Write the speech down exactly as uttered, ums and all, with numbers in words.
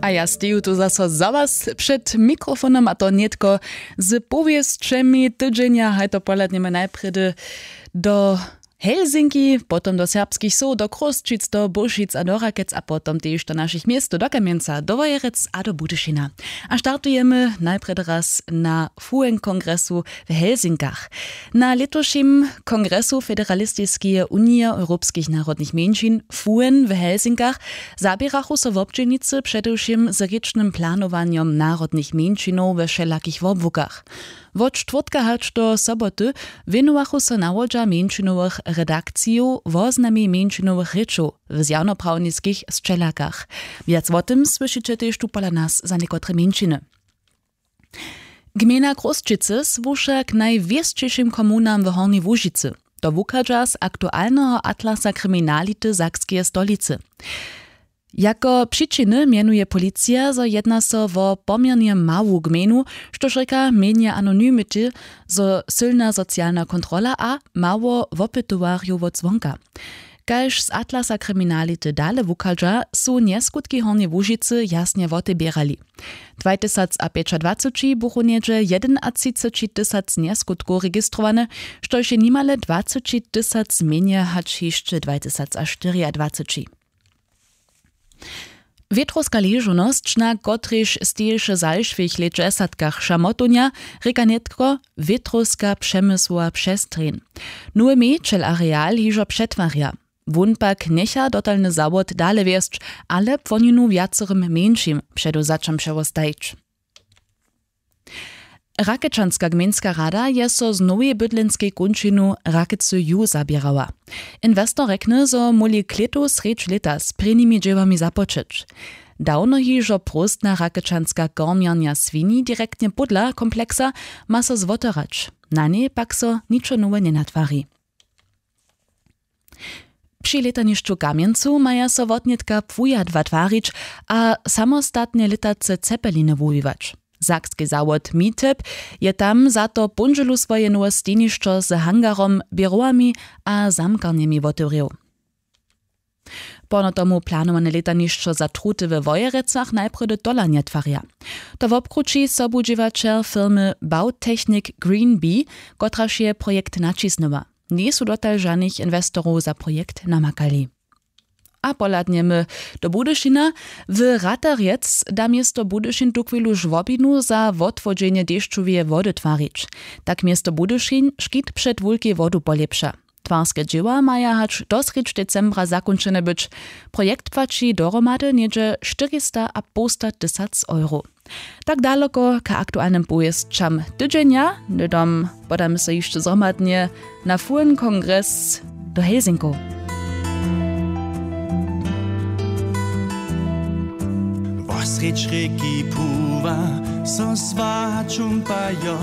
A ja steju tu zaso za was před mikrofonom, a to nětko z powěsćemi tydźenja. Haj to pohladnjemy najprjedy do Helsinki, potom do serbskich sow, do Chrósćic, do Bóšic a do Rakec a potom tež do našich městow, do Kamjenca, do Wojerec a do Budyšina. A startujemy najprjedy raz na F U N kongresu w Helsinkach. Na lětušim kongresu Federalistiskeje unije europskich narodnych mjeńšin F U N w Helsinkach zaběrachu so wobdźělnicy předewšěm z rěčnym planowanjom narodnych mjeńšinow we wšelakich wobłukach. Wot štwórtka hač do soboty wěnowachu so nawodźa mjeńšinowych redakcijow woznami mjeńšinowych rěčow w zjawnoprawniskich sćelakach. Wjac wo tym słyšiće tež tu pola nas za někotre mjeńšiny. Gmejna Chrósćicy słuša k najwěsćišim komunam w Hornjej Łužicy. To wuchadźa z aktualneho atlasa kriminality Sakskeje stolicy. Jako přičiny mjenuje policija, zo jedna so wo poměrnje mału gmejnu, štož rěka mjenje anonymity, zo sylna socialna kontrola a mało wopytowarjow wot zwonka. Kaž z atlasa kriminality dale wuchadźa, su njeskutki Hornjeje Łužicy jasnje woteběrali. Dwatysacapjećadwaceći buchu něhdźe jedenatřiceći tysac njeskutkow registrowane, štož je nimale dwaceći tysac mjenje hač hišće dwatysacaštyriadwaceći. Wětrowska ležownosć, na kotrejž steješe w zašłych lětdźesatkach šamotownja, rěka nětko wětrowska přemysłowa přestrjeń. Nowy měćel areal hižo přetwarja. Wón pak njecha dotalny zawod dale wjesć, ale płoninu wjacorym mjeńšim předewzaćam přewostajić. Rakečanska gmejnska rada je so z nowej bydlenskej kónčinu Rakecy ju zaběrała. Inwestor rjekny, zo móhli klětu srjedź lěta z prěnimi dźěłami započeć. Dawno hižo próstna rakečanska kormjarnja swini direktnje pódla kompleksa ma so zwoterać. Na njej pak so ničo nowe njenatwari. Při lětanišću w Kamjencu maja so wotnětka płujadła twarić a samostatnje lětace cepeliny wuwiwać. Sakski zawod Miteb je tam za to póndźelu swoje nowe stejnišćo z hangarom, běrowami a zamkarnjemi wotewrěł. Porno tomu planowane lětanišćo za truty we Wojerecach najprjedy tola njetwarja. To wobkrući sobudźěłaćer firmy Bautechnik Green Bee, kotraž je projekt naćisnyła. Njejsu dotal žanych inwestorow za projekt namakali. A pohladnjemy do Budyšina. W Ratarjec da město Budyšin tuchwilu žłobinu za wotwodźenje dešćoweje wody twarić. Tak město Budyšin škit před wulkej wodu polěpša. Twarske dźěła maja hač do srjedź decembra zakónčene być. Projekt płaći dohromady něhdźe štyrista a połsta tysac euro. Tak daloko k aktualnym powěsćam tydźenja. Hnydom podamy so hišće zhromadnje na F U N kongres do Helsinkow. Wosrjedź rěki Puwa so swačumpajo.